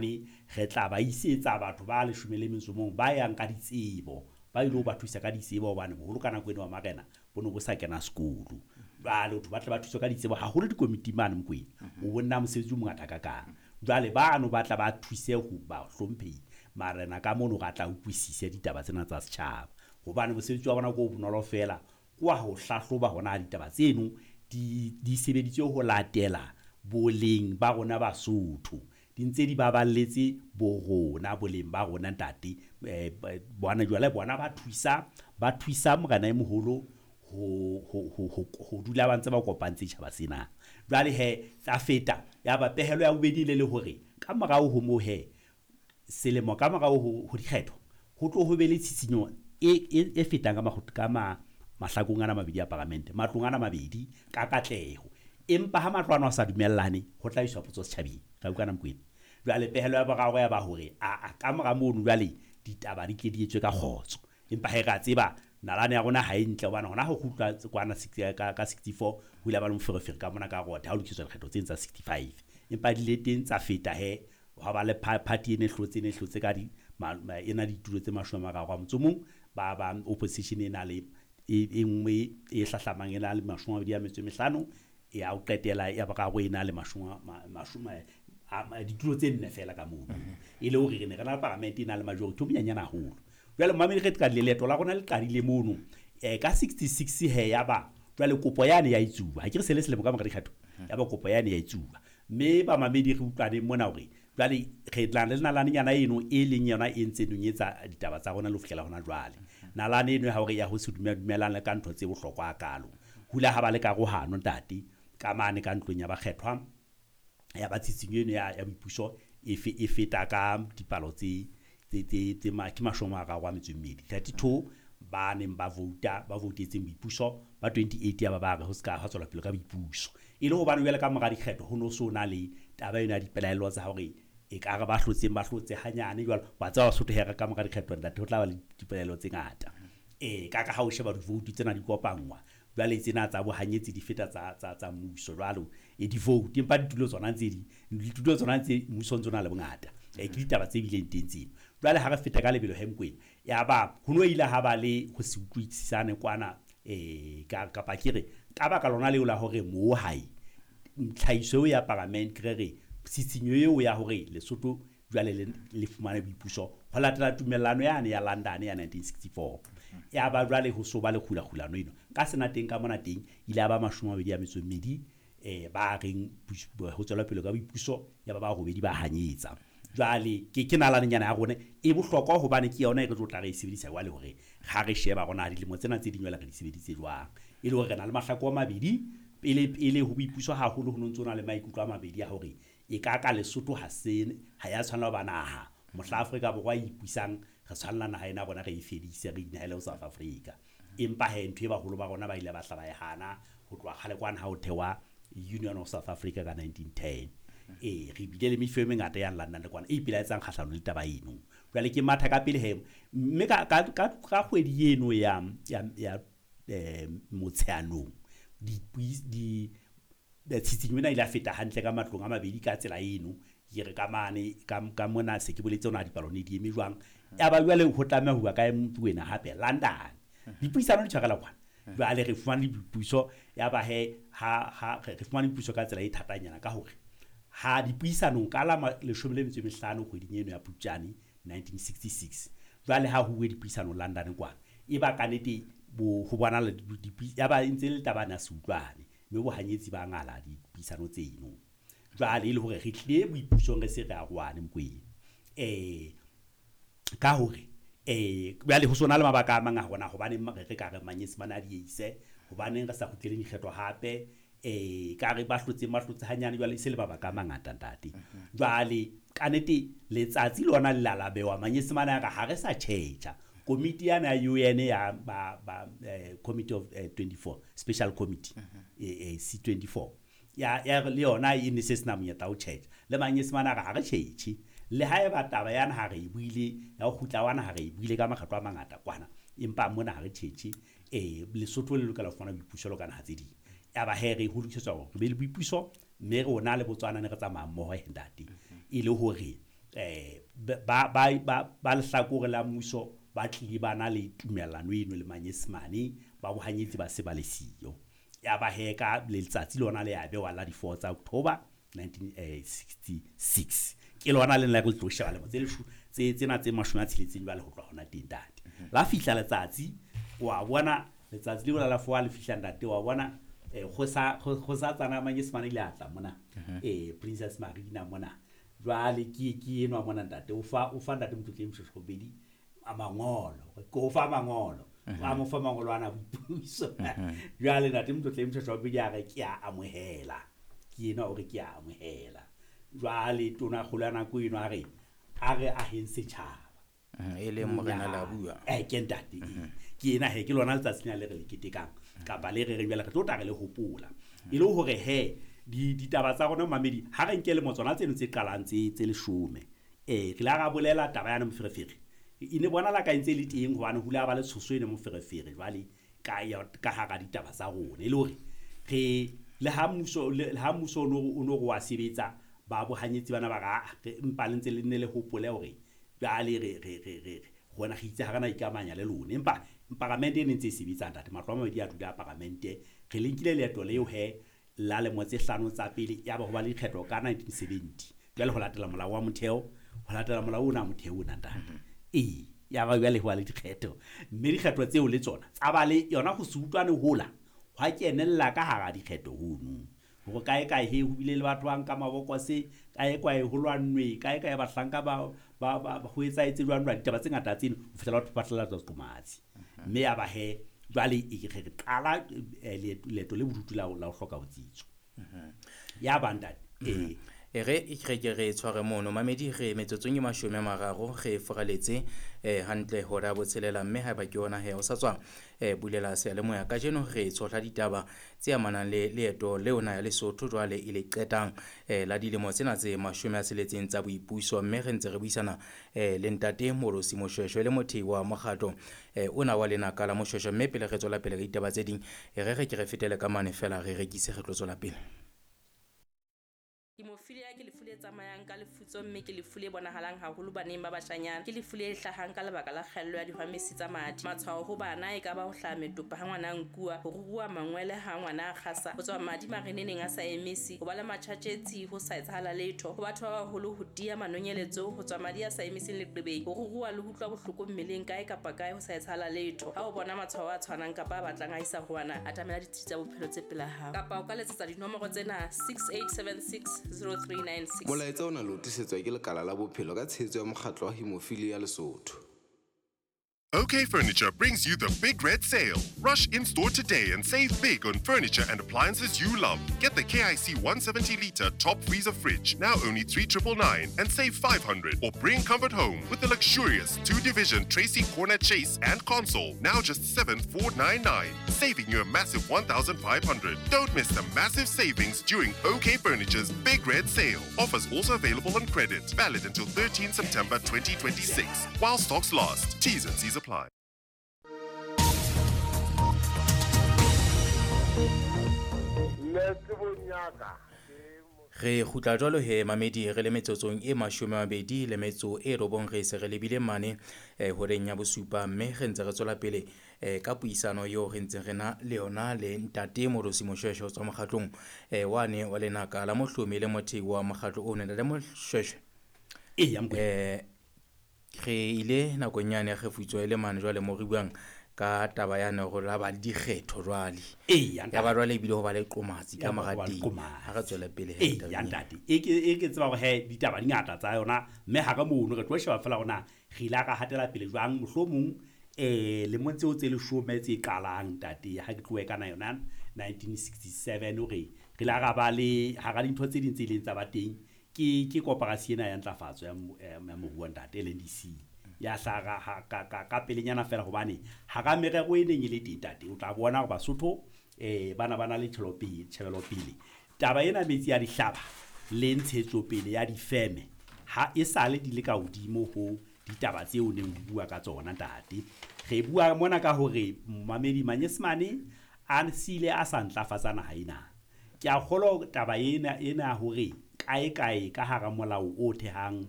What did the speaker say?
mane re tla ba isetsa batho ba 11 ba yang ka ditsebo, ba ile ho ba thusa ka ditsebo hobane boholo ka nako eno wa marena bo ne bo sa kena sekolo. Jwale batho ba tle ba thuswe ka ditsebo haholo dikomiti mane Mokwena. O bonna mosebetsi o mongata kakang. Jwale bano ba tla ba thuse ho ba hlomphehi marena ka mono ra tla utlwisise ditaba tsena tsa setjhaba. Hobane mosebetsi wa bona ke o bonolo feela, ke wa ho hlahloba hona ditaba tseno di sebeditswe ho latela boleng ba rona Basotho. Di ntse di baballetse bo rona boleng ba rona ntate. Bona jwale bona ba thusa morena e moholo ho dula ba ntse ba kopantse tjhaba sena. Jwale he tsa feta ya ba pehelo ya bobedi le hore ka morao ho moo he selemo ka morao ho dikgetho ho tlo ho be le tshitshinyo e fetang ka mahlakong ana mabedi a paramente, matlong ana mabedi ka katleho. Empa ha matlo ana a sa dumellane ho tla iswa potso setjhabeng. Ra utlwana Mokwena. Jwale pehelo ya boraro ya ba hore a ka mora mono jwale ditaba di tle di etswe ka kgotso. Empa he ra tseba nalane ya rona ha e ntle hobane hona ho kgutlwa kwana ka 64 ho ile ba le moferefere ka mona ka rotha ha ho lokiswa dikgetho tse tsa 65. Empa di le teng tsa feta he ha ba le party e ne hlotse ka di ena ditulo tse 31 ba opposition e na le e nngwe e hlahlamang e na le 25 ya ho qetela ya boraro e na le 10 ditulo tse nne fela ka mono. E le hore re ne re na le paramente e na le majority o monyenyane haholo. Jwale mamedi re qadile leeto la rona le qadile mono ka 66 he ya ba jwale kopo yane ya itsuwa. Ha ke re se le selemo ka mora dikgetho ya ba kopo yane ya itsuwa. Mme ba mamedi re utlwane mona hore jwale re tla le nalanenyana eno e leng yona e ntse nonyetsa ditaba tsa rona le ho fihlela hona jwale. Nalane eno ya hore ya ho se dumelane ka ntho tse bohlokwa hakalo. Hula ha ba le karohano ntate ka mane ka ntlong ya bakgethwa ya ba tshitshinyo eno ya boipuso e feta ka dipalo tse ke 32 32 ba neng ba vouta ba voutetseng boipuso ba 28 ya ba ba re ho ska ha tswela pele ka boipuso. E le hobane jwale ka mora dikgetho ho no so na le taba ena ya dipelaelo tsa hore e ka re ba hlotseng ba hlotse hanyane jwalo wa tseba Basotho hee ka mora dikgetho ntate ho tla ba le dipelaelo tse ngata. Ka ha o sheba di-vote tsena di kopangwa jwale tsena tsa bohanyetsi di feta tsa mmuso jwalo e di-vote empa ditulo tsona tse di ditulo tsona tse mmuso ntse o na le bongata. Ke ditaba tse bileng teng tseno. Jwale ha re feta ka lebelo he Mokwena ya ba ho no ile ha ba le ho se utlwisisane kwana kapa ke re ka baka lona leo la hore moo hae tlhahiso ya parliament re re tshitshinyo eo ya hore Lesotho jwale le fumane boipuso ho latela tumellano yane ya London ya 1964. Ya ba jwale ho so ba le kgulakgulano eno ka sena teng ka mona teng ile ya ba 22 ba reng ho tswela pele ka boipuso ya ba ba robedi ba hanyetsa. Jwale ke nalanenyana ya rona e bohlokwa hobane ke yona e re tlo tla re e sebedisa jwale hore ha re sheba rona dilemo tsena tse ding jwale re di sebeditse jwang. E le hore re na le mahlako a mabedi pele pele ho boipuso haholo ho no ntso na le maikutlo a mabedi ya hore e ka ka Lesotho ha se ha ya tshwanela ho ba naha mohla Afrika Borwa e ipusang re tshwanela naha ena rona re e fedise re inahele ho South Africa. Empa he ntho e baholo ba rona ba ile ba hla ba e hana ho tloha kgale kwana ha ho thewa Union of South Africa ka 1910. Re bile le mefeo e mengata ya London le kwana e ipelaetsang kgahlano le taba eno. Jwale ke matha ka pele he mme ka kgwedi eno ya Motsheanong di tshitshinyo ena ile ya feta hantle ka matlong a mabedi ka tsela eno. Ke re ka mane ka mona se ke boletse hona dipalo ne di eme jwang. Ya ba jwale ho tlameha ho bua ka wena hape London. Dipuisano di tshwarela kwana. Jwale re fumane dipuiso ya ba he ha re fumane dipuiso ka tsela e thatanyana ka hore ha dipuisanong ka la 15 kgweding eno ya Phupjane 1966 jwale ha ho uwe dipuisano London kwana e ba ka nete bo ho bona le ya ba ntse le taba na se utlwane mme bohanyetsi ba ngala dipuisano tseno. Jwale e le hore re tlile boipusong re se re arohane Mokwena. Ka hore jwale ho sona le mabaka a mang a rona hobane re ka re Manyesemane a dieise hobaneng re sa kgutlele dikgetho hape ka re ba hlotse hanyane jwale se le mabaka a mangata ntate. Jwale ka nete letsatsi lona le la bewa Manyesemane a re ha re sa tjhetjha komiti yana ya UN ya ba Committee of 24 Special Committee C24 ya le yona e ne se sena monyetla ho tjhetjha le Manyesemane a re ha re tjhetjhe le ha eba taba yana ha re e buile ya ho kgutla wana ha re e buile ka makgetlo a mangata kwana empa mona ha re tjhetjhe Lesotho le lokela ho fumana boipuso ka naha tse ding. Ya ba he re ho lokisetswa hore re be le boipuso mme rona le Botswana ne re tsamaya mmoho he ntate e le hore Ba lehlakore la mmuso ba tlile ba na le tumellano eno le Manyesemane, ba bohanyetsi ba se ba le siyo. Ya ba he ka letsatsi lona le ya bewa la di-4 tsa October 1966. Ke lona le nna re tlo sheba lemo tse tsena tse 60 jwale ho tloha hona teng ntate. La fihla letsatsi, wa bona letsatsi leo la 4 le fihla ntate, wa bona kgosatsana Manyesemane ile a tla mona. Princess Marina mona. Jwale ke enwa mona ntate, o fa ntate Motlotleng Moshoeshoe bobedi a mangolo, ke o fa mangolo. A mo fa mangolo ana boipuso. Jwale ntate Motlotleng Moshoeshoe bobedi a re ke a amohela. Ke enwa o re ke a amohela. Jwale tona kgolo ya nako eno a re aheng setjhaba. E leng morena la bua. Ke ntate. Ke ena he ke lona letsatsi lena le re le ketekang kapa le re reng jwale re tlo tla re le hopola. E le hore he ditaba tsa rona mamedi ha re nke lemo tsona tseno tse qalang tse 10. Re la ra bolela taba yana moferefere. E ne bona la ka ntse le teng hobane hula ba le tshoso ene moferefere jwale ka hara ditaba tsa rona. E le hore re le ha mmuso o no wa sebetsa ba bohanyetsi bana ba ra empa le ntse le nne le hopole hore jwale re rona re itse ha rena ikamanya le lona. Empa paramente e ne ntse e sebetsa ntate, matlo a mabedi a dula paramente. Re le nkile leeto leo he la lemo tse 5 tsa pele ya ba ho ba le dikgetho ka 1970. Jwale ho latela molao wa motheo, ho latela molao ona motheo ona ntate. Ya ba jwale ho ba le dikgetho, mme dikgetho tseo le tsona tsa ba le yona ho se utlwane hola hwa kenella ka hara dikgetho hono. Hore kae kae he ho bile le batho ba nka mabokose, kae kae ho lwannwe, kae kae bahlanka ba ho etsahetse jwang jwang, ditaba tse ngata tseno ho fihlela batho ba tlela qomatsi. Mme ya ba he jwale re qala leeto le bodutu la ho hloka botsitso. Ya ba ntate. Re ke re tshware mono mamedi, re metsotsong e 30 re foraletse hantle hora botshelela, mme haeba ke yona he o sa tswa bulela seyalemoya kajeno re tshohla ditaba tse amanang le leeto leo na ya Lesotho jwale e le qetang la dilemo tsena tse 60 tsa boipuso, mme re ntse re buisana le ntate Moorosi Moshoeshoe le mothei wa mokgatlo ona wa lenaka la Moshoeshoe. Mme pele re tswela pele ka ditaba tse ding, re ke re fetele ka mane fela re rekise re tlo tswela pele. Hemophilia ke lefu le tsamayang ka lefutso, mme ke lefu le bonahalang haholo baneng ba bashanyana. Ke lefu le hlahang ka lebaka la kgaello ya dihwamesi tsa madi. Matshwao ho bana e ka ba ho hlaha metopa ha ngwana a nkuwa, ho ruruha mangwele ha ngwana a kgasa, ho tswa madi mareneneng a sa emisi, ho ba le matjhatjetsi ho sa etsahala letho, ho batho ba baholo ho tiya manonyeletso, ho tswa madi a sa emiseng leqebeng, ho ruruha le ho utlwa bohloko mmeleng kae kapa kae ho sa etsahala letho. Ha o bona matshwao a tshwanang kapa a batlang a isa ho wena, atamela ditsi tsa bophelo tse pela hao, kapa o ka letsetsa dinomoro tsena 6876 0396. Molaetsa ona le o tlisetswa ke lekala la bophelo ka tshehetso ya mokgatlo wa Hemophilia Lesotho. OK Furniture brings you the Big Red Sale. Rush in-store today and save big on furniture and appliances you love. Get the KIC 170-litre top freezer fridge, now only 3,999, and save 500. Or bring comfort home with the luxurious 2-division Tracy Corner Chase and console, now just 7,499, saving you a massive 1,500. Don't miss the massive savings during OK Furniture's Big Red Sale. Offers also available on credit. Valid until 13 September 2026. While stocks last. T's and C's apply. Re kgutla jwalo he mamedi, re le metsotsong e 29 re se re lebile mane horeng ya bosupa, mme re ntse re tswela pele ka puisano eo re ntseng re na le yona le ntate Moorosi Moshoeshoe tswa mokgatlong wane wa lenaka la mohlomi le mothei wa mokgatlo o nna le Moshoeshoe. Re ile nakong yane ya kgefutso e le mane jwale mo re buang ka taba ya ne hore la ba le dikgetho jwale. Ya ba jwale ebile ho ba le qomatsi ka mora teng. Ha re tswele pele he ya ntate. E ke tseba hore he ditaba di ngata tsa yona, mme ha re mono re tlo sheba fela hore re ile ra hatela pele jwang mohlomong lemong tseo tse 10 tse qalang ntate, ha ke tlohe kana yona 1967 hore re ile ra ba le hara dintho tse ding tse ileng tsa ba teng ke koporasi ena ya ntlafatso ya moruo ntate LNDC ya hlaha ka pelenyana fela, hobane hara merero e neng e le teng ntate, o tla bona hore Basotho bana ba na le tjhebelopele. Taba ena metsi ya dihlaba le ntshetsopele ya difeme ha e sale di le ka hodimo ho ditaba tseo neng ho bua ka tsona ntate. Re bua mona ka hore mamedi Manyesemane a sile a sa ntlafatsa naha ena. Ke a kgolwa taba ena hore kae kae ka hara molao o thehang